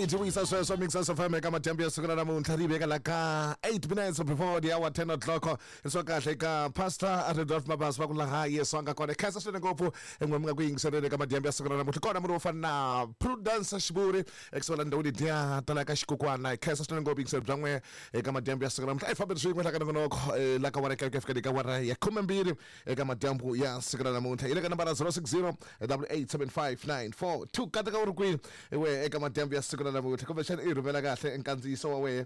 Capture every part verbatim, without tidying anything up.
Alright, vuyisa sweswo Mixers F M eka madyambu ya siku ra namuntlha ri veka la ka eight minutes before the hour ten o'clock. Swa kahle ka Pastor Rudolph Mabasa va ku laha Yesu a nga kona. Khensa swinene ngopfu en'we mi nga ku yingiseleni eka madyambu ya siku ra namuntlha. Kona munhu wo fana na Prudence Xivuri ekusuhi la ndhawini liya tala ka xikukwana. Khensa swinene ngopfu yingiselo bya n'we eka madyambu ya siku ra namuntlha. A hi fambeni swin'we la ka nongonoko la ka wara kereke fika ka wara ya khumembirhi eka madyambu ya siku ra namuntlha. Hi le ka nambara zero six zero double eight seven five nine four two. Kateka u ri kwini we eka madyambu ya siku ra namuntlha, kumbexana i rhumela kahle nkandziyiso wa wehe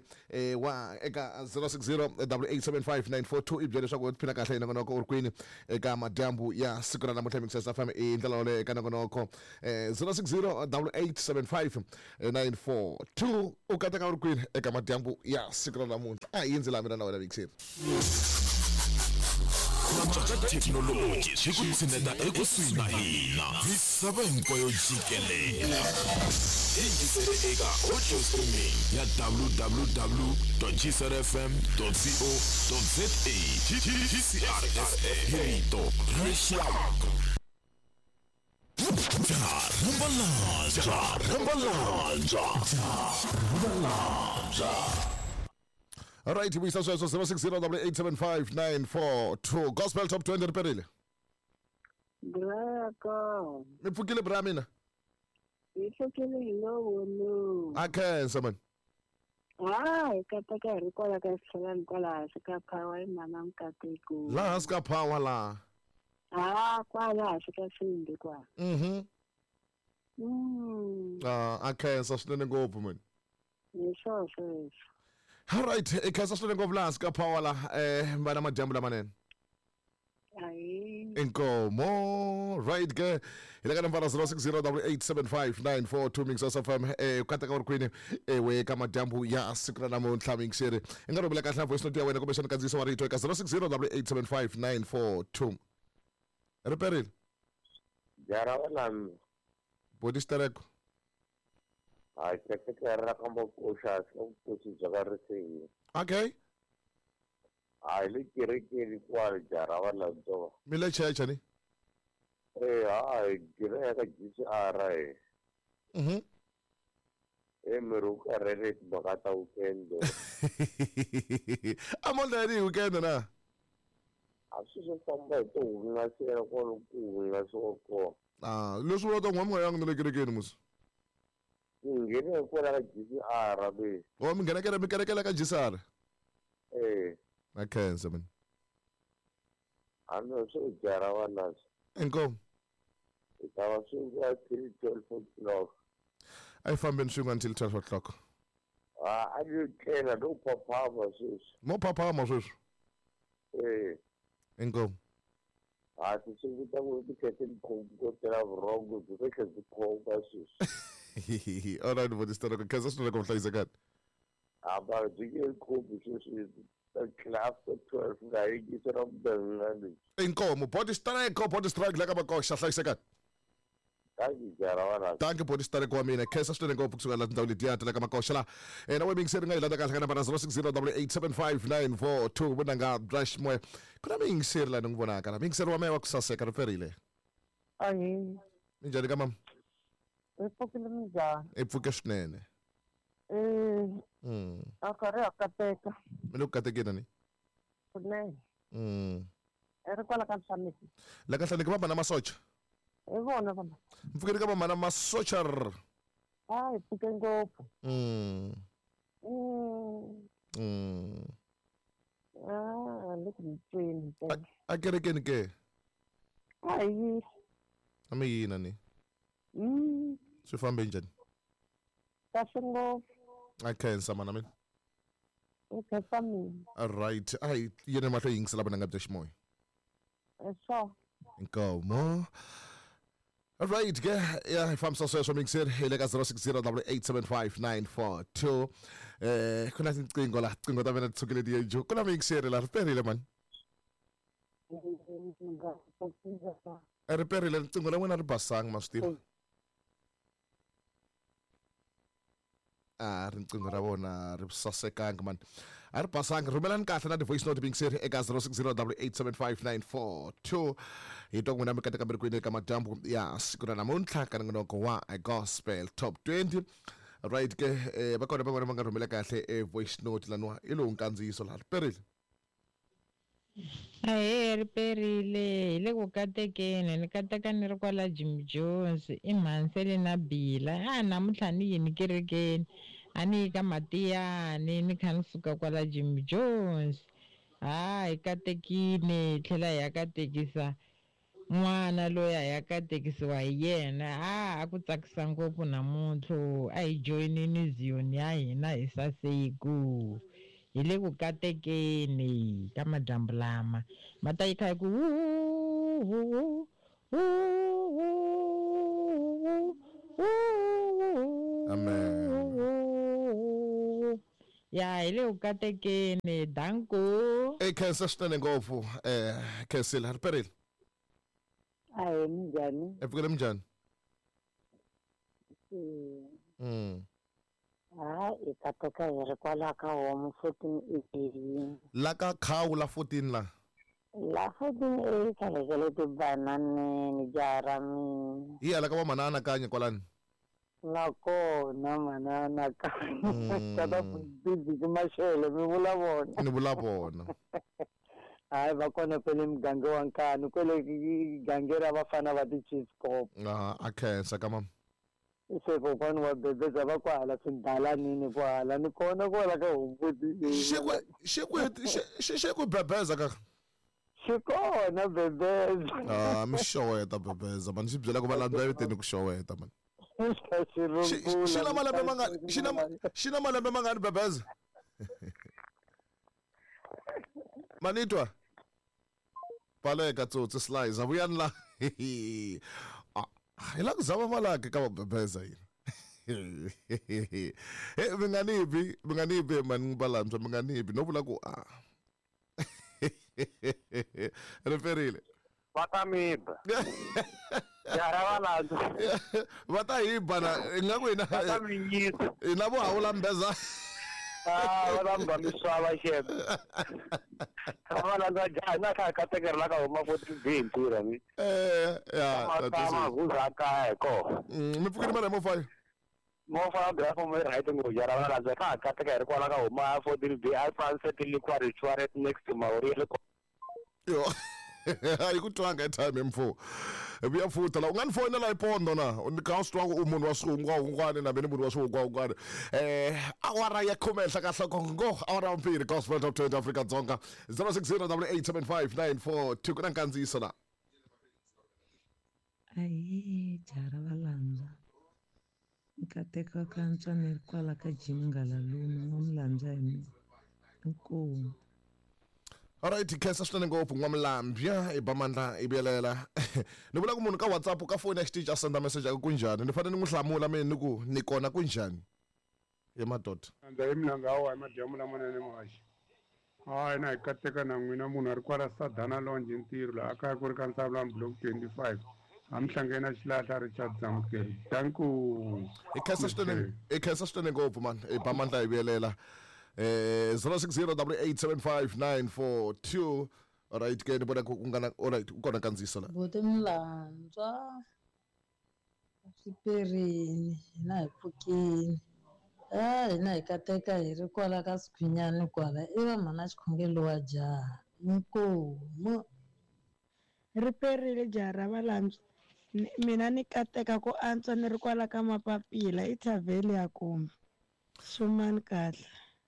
wa eka zero six zero double eight seven five nine four two i byela leswaku u tiphina kahle hi nongonoko u ri kwini eka madyambu ya siku ra namuntlha. Mixers F M i ndlela yoleyo eka nongonoko zero six zero double eight seven five nine four two. U kateka u ri kwini eka madyambu ya siku ra namuntlha. A hi yindzi la mina na wena Mixer. Thekinoloji swi ku tshineta ekusuhi na hina misava hinkwayo jikelele. Yingisele eka audio streaming ya w w w dot g c r f m dot co dot z a. G C R F M hi rito ra rixaka. Rambalanja, rambalanja, rambalanja. All right, vuyisa sweswo zero six zero double eight seven five nine four two. Gospel Top twenty ri perile. Brako. Mi pfukile bra mina? Mi pfukile hi lowo. A khensa man. Hayi, kateka hi ri kwala ka xitlhelani kwala hansi ka Power hi mhana Mukateko. Laha hansi ka Power laha. Ah, kwala hansi ka Sindi kwala. Mhm. Mm. Ah, a khensa swinene ngopfu man. Hi swona sweswo. All right, i khensa swinene ngopfu laha hansi ka Power laha eh vana madyambu lamanene. Ayi. Inkomo. Right ke hi le ka nambara zero six zero double eight seven five nine four two Mixers F M eh kateka u ri kwini ewe ka madyambu ya siku ra namuntlha Mixer. I nga rhumela kahle na voice note ya wena kumbexana nkandziyiso wa rito eka zero six zero double eight seven five nine four two. Ri perile. Jara wala Body stereko. Hayi, teketela ra ka makoxa vukosi bya ka riseni. Okay. Hayi, le kerekeni kwale jara wa landzo. Mi le church ni? Eh, hayi, gira ka G C R eh. Mhm. Eh, mi ri ku karhele timhaka ta weekend. A mo ndani weekend na? A swi swo famba hi to hungasela kwalo ku hungasiwa kona. Ah, leswi vula ta n'wa mi nga yangi na le kerekeni musi. Mi nghene kwala ka G C R be. Oh, mi nghena kere mi kerekela ka G C R? Eh. Na khensa man. A no swi jara wa lazo. Inkomu. I ta va swi va till twelve o'clock. A yi fambeni swin'we until twelve o'clock. Ah, a ni tlela no phaphama sweswi. Mo phaphama sweswi? Eh. Inkomu. Ah, ti swi ta ku ti khe ti khongotela vurhongo byi ve khe byi khonga sweswi. All right, body stereko. Khensa swinene ku hlayisekani. A va byi nge khumbi sweswi. After twelve nga yingisela mudanga leswi. Inkomu, body stereko, body strike la ka makoxa hlayisekani. Thank you, jara wa la. Thank you, body stereko wa mina. Khensa swinene ngopfu kusuka la tindhawu letiya ta la ka makoxa la. Eh, na we miyingiseri nga yi landza kahle ka nambara zero six zero double eight seven five nine four two vunanga bya ximoya. Ku na miyingiseri la ni n'wi vonaka la. Miyingiseri wa mehe wa ku saseka ri perile. Ahi. Minjhani ka mama? Hi pfukile minjhani? I pfuke swinene. Eh. Mm. A karhi a kateka. Mi le ku katekeni ni? Swinene. Mm. I ri kwala ka Nhlaneki. La ka Nhlaneki va mana masocha? Hi vona vona. Mpfukeni ka va mana masocha r. A hi pfuke ngopfu. Mm. Mm. Mm. Ah, le ku tweni ntsena. A kerekeni ke? A hi yile. A mi yina ni? Mm. Swi fambe njhani? Kahle ngopfu. A khensa mana mina. U khensa mina. All right. Ai yena mahlo yingisela vana nga bya ximoya. Sure. Inkomo. All right, ke ya hi fambisa sweswo Mixer hi le ka zero six zero double eight seven five nine four two. Eh, ku na tinqingho la, tinqingho ta mina ti sukile ti ye ku na Mixer la ri perile man. Ri perile riqingho ra n'wina ri basanga ma swi tiva. Ah, riqingho ra vona ri sasekanga man. A ri basanga. Rhumelani kahle na ti-voice note Mixer eka zero six zero double eight seven five nine four two. Hi twa n'wina mi kateka mi ri kwini eka madyambu ya siku ra namuntlha ka nongonoko wa Gospel Top twenty. Right ke eh va kona van'wana va nga rhumela kahle e voice note laniwa i lowu nkandziyiso laha riperile. Ahee, riperile hi le ku katekeni ni kateka ni ri kwala Jim Jones i Mhansele na Bila a namuntlha ni yini kerekeni a ni yi ka Matiyani ni kha ni suka kwala Jim Jones ha hi katekile hi tlhela hi ya katekisa n'wana loyi a ya katekisiwa hi yena a a ku tsakisa ngopfu namuntlha a hi joyinini Zion ya hina hi saseku hi le ku katekeni ka madyambu lama ma ta yi kha yi ku wu wu wu wu wu Amen. Ya hi le ku katekeni danko. E khensa swinene ngopfu eh khensile riperile. Ahee, minjhani? E pfukile minjhani? Mm. Mm. Ha hi kateka hi ri kwala ka homu fourteen A. La ka khawu la fourteen la. La fourteen A khalekele tibananeni jaha ra mina. Hi hala ka va mhana anakanya kwalani. Nakona mhana anakanya. Mm. Tata busy maxele mi vula vona. Ni vula vona. Hayi va kona kwele muganga wa Nkanu kwele gange ra vafana va ti-chiskop. Ah, a khensa ka mama. Se kokwani wa bebeza va kwahala swidalanini kwahala ni kona kwala ka hombuti. Xi ku xi ku xi xi ku bebeza ka. Xi kona bebeza. Ah, mi xoweta bebeza mani xi byela ku va landza eviteni ku xoweta mani. Xi Xi na malembe mangani xi na xi na malembe mangani bebeza? Manitwa. Baleka tsotsi slice avuyani la. Ah, hi la ku zama malaki ka bebeza yini. He mi nga ni bi, mi nga ni bi mani balantswa mi nga ni bi no vula ku ah. Riperile. Va ta mi ba. Jaha ra valandza. Va ta hi ba na ingaku hina Va ta mi nyisa. hina vo hawula mbeza. Ah, va ta mi ba misava xebe. Ra valandza jaha na kha kateka ri la ka huma fourteen B hi ntirho mi. Eh, ya, Matama guza kaya hi kona. Mm, mi pfukile mara hi mofaya. Movha bya fomo yi right ngopfu jaha ra valandza kha kateka hi ri kwala ka huma fourteen B a sunset liquor ritual next to Maori le Yo. A yi ku twanga airtime mfo. Vuya futa la u nga ni fonela hi pondo na ni kha u swi twa ku u munhu wa swihungwahungwani na mina ni munhu wa swihungwahungwani. Eh, awara ya khume henhla ka nhloko ngo awara ya mbirhi Gospel Top twenty Afrika Dzonga zero six zero double eight seven five nine four two ku na nkandziyiso la. Ahee, jaha ra valandza nkateka ka antswa ni ri kwala ka Jim Ngalalume n'wamulandza hi mina inkomu. Alright, khensa swinene ngopfu n'wamulambya i ba mandla i vuyelela. Ni vula ku munhu ka WhatsApp ka foni ya xitichi a senda message a ku kunjhani ni fanele ni n'wi hlamula mina ni ku ni kona kunjhani. Ye madoda. Ndza hi mina wa madyambu lamanene muhaxi. Hayi na hi kateka na n'wina munhu a ri kwala Sadana Lounge ntirho laha kaya ku ri ka Nsavulani block twenty-five. A mi hlangene na xilahla Richard Zamukeri. Danko. Hi khensa swinene hi khensa swinene ngopfu man i ba mandla hi vuyelela. Eh zero six zero double eight seven five nine four two. Alright ke ni vona ku nga na alright ku kona nkandziyiso la. Buti Mulandzwa swiperini hina hi pfukini. Ah, hina hi kateka hi ri kwala ka Swikhwinyani kwala i va mhana xikhongelo wa jaha inkomu. Riperile jaha ra valandzwa mina ni kateka ku antswa ni ri kwala ka Mapapila i thavheli ya kumbe xumani kahle.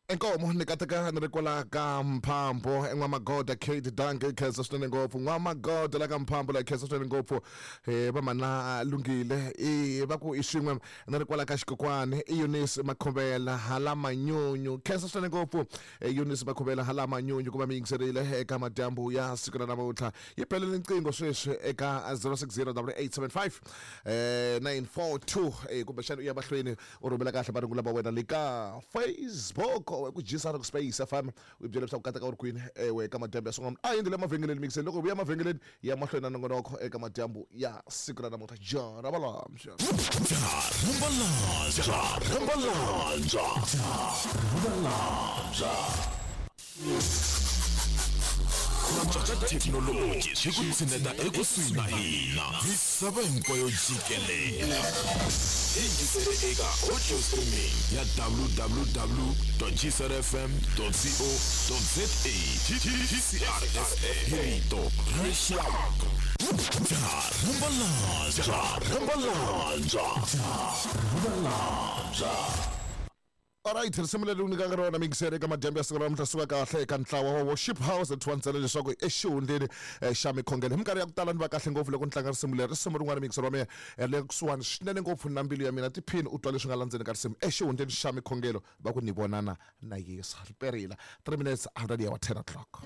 Inkomo ni kateka ni ri kwala ka Mphambo en'wamagoda Kate Danke khensa swinene ngopfu n'wamagoda la ka Mphambo la khensa swinene ngopfu eh va mana lunghile i va ku i swin'we ni ri kwala ka Xikokwani i Eunice Makhuvela hala Manyunyu khensa swinene ngopfu Eunice Makhuvela hala Manyunyu ku va mi yingiserile eka madyambu ya siku ra namuntlha yi belele nqingho sweswi eka zero six zero double eight seven five eh nine four two eh kumbexana u ya mahlweni u rhumela kahle marungulo ma wena le ka Facebook ku jisa ku Space F M u byela leswaku kateka u ri kwini ewe eka madyambu ya swin'wana a yindle emavhengeleni mixeni loko vuya emavhengeleni ya mahlweni na nongonoko eka madyambu ya siku ra namuntlha jaha ra valamxa. Jaha ra valandza, ra valandza, ra valandza. Ku antswa ka thekinoloji swi ku tshineta ekusuhi na hina. Misava hinkwayo jikelele. Yingisele eka audio streaming ya w w w gcrfm co za. G C R F M, hi rito ra rixaka. Rambalanja, rambalanja, rambalanja. Alright, risimu leri nyikaka rona mingiseri eka madyambu ya siku ra namuntlha suka kahle eka ntlawa wa Worship House ethiwa leswaku exihundleni eh, xa mikhongelo. Hi minkarhi ya ku tala ni va kahle ngopfu loko ni tlanga risimu leri. Risimu rin'wana, mingiseri wa mina, eh, le kusuhani swinene ngopfu na mbilu ya mina. Tiphini u twa leswi nga landzeni ka risimu exihundleni xa mikhongelo, va ku ni vonana na Yesu. Ri perile three minutes after the hour ten o'clock.